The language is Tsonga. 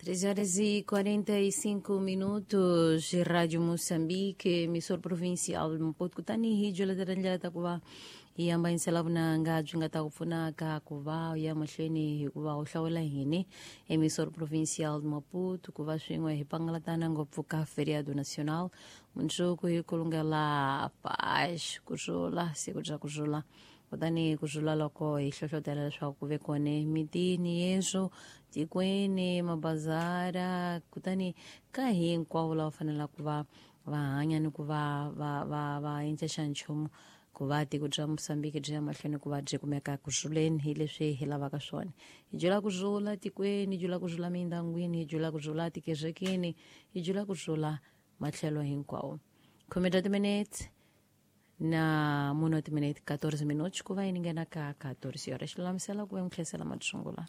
3 horas e 45 minutos, Rádio Moçambique, emissor provincial Maputo, kutani hi jwela ndlela ta ku va hi hambanyisela vunanga byi nga ta ku pfunaka ku va u ya mahlweni hikuva u hlawula hini emissor provincial Maputo ku va swin'we hi pangalatana ngopfu ka feriado nacional mundzuku hi kulungela paz ku rhula siku bya ku rhula. Kutani ku rhula loko hi hlohlotela leswaku ku ve kona mitini yeswo tikweni mabazara kutani ka hinkwavo lava fanelaka ku va va hanya ni ku va va va va endla xa nchumu ku va tiko bya Mosambiki byi ya mahlweni ku va byi kumeka ku rhuleni hi leswi hi lavaka swona. Hi byela ku rhula tikweni, hi byela ku rhula mindyangwini, hi byela ku rhula tikerekeni, hi byela ku rhula matlhelo hinkwawo. 10 timinete na 1 timinete 14 minutos ku va yi nghena ka 14 horas xi lulamisela ku va mi tlherisela matsungula.